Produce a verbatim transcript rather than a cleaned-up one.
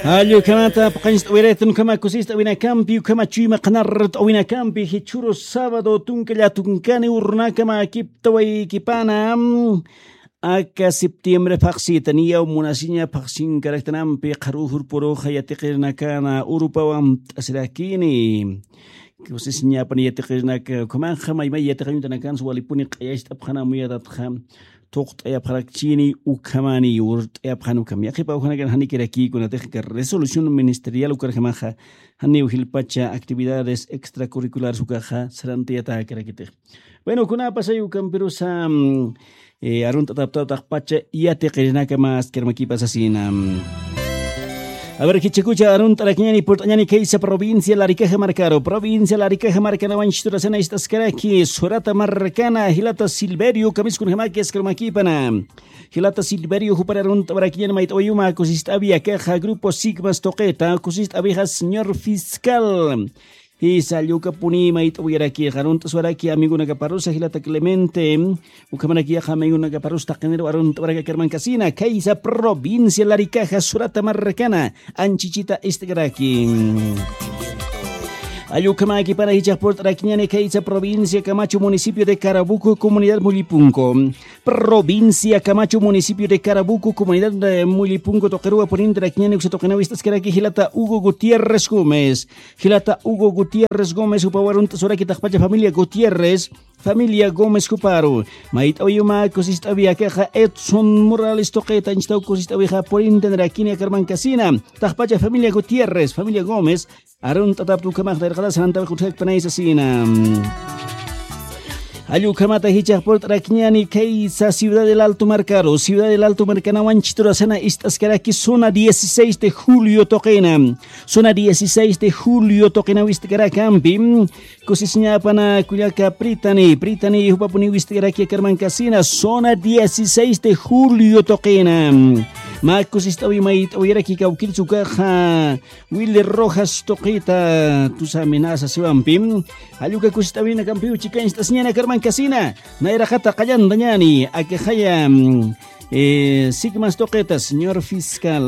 Allukhamata paqañcht'awiraytan ukhama kusist'awinakampi ukhama chuyma qhanart'awinakampi jichhuru sábado tunka llatunkani urunakama akiptawaykipana. Aka septiembre phaqsita niyaw munasiña phaqsinkaraktanampi qharujur puruxa yatiqirinakana urupawan t'asirakini. Kusisiñapan yatiqirinaka ukhamanxa maymay yatiqañutanakansa walipuni q'ayacht'apxana muyatatxa thuqt'ayapxarakchini ukhamani urt'ayapxan ukham yaqhipa ukhanakan janikirakikunatix ka resolución ministerial ukarjamaxa janiw jilpacha actividades extracurriculares ukaxa sarantayatäkarakitix. Bueno kunapasay ukampirusa arunt'ataptawtaxpacha yatiqirinaka maskarmakipasasina. Aver jichakucha arunt'arakiñani purt'añani kaysa provincia larikaja markaru provincia larikaja markanawanchiturasana ist'askaraki surata markana jilata silverio kamiskunjamaki askarmakipana. Jilata silverio jupar arunt'awarakiñani mayt'awayuma kusist'awi akaxa grupo sigmas tuqita kusist'awixa señor fiscal. Jisa allukapuni mayt'awayarakixa arunt'aswaraki amigonakaparusa jilata clemente. Ukhamaraki yaqa amigonakaparus taqiniru arunt'awaraki akarmankasina kaysa provincia larikaja surata markana anchichita ist'karaki. Allukhamakipana jichaq purt'arakiñani kaysa provincia camacho municipio de carabuco comunidad mullipunco. Provincia camacho municipio de carabuco comunidad mullipunco tuqiruwa purintarakñani uksa tuqinaw ist'askaraki jilata hugo gutierrez gómez. Jilata hugo gutierrez gómez jupawarunt'asuraki taqpacha familia gutierrez. Familia gómez juparu mayt'awiyuma kusist'awi akaxa edson morales tuqita anchitaw kusist'awixa purintanrakini akarmankasina. Taqpacha familia gutierrez familia gómez arunt'atapta ukhamax nayraqata sarantawix utjakpanaysa sina. Allukhamata jichax purt'arakñani kaysa ciudad del alto markaru ciudad del alto markanawan chiturasana ist'askaraki zona dieciséis de julio tuqina. Zona dieciséis de julio tuqinaw ist'karakampi kusisiñapana kullaka pritani pritani jupapuni wist'karaki akarmankasina zona dieciséis de julio tuqina. Mä kusist'awi mayt'awiraki kawkirsukaxa wili rojas tuqita tusa amenaza siwampi. Jalluka kusist'awinakampiw chikañcht'asiñana karmankasina. Nayraqata qallantañani akixaya sigmas tuqita señor fiscal.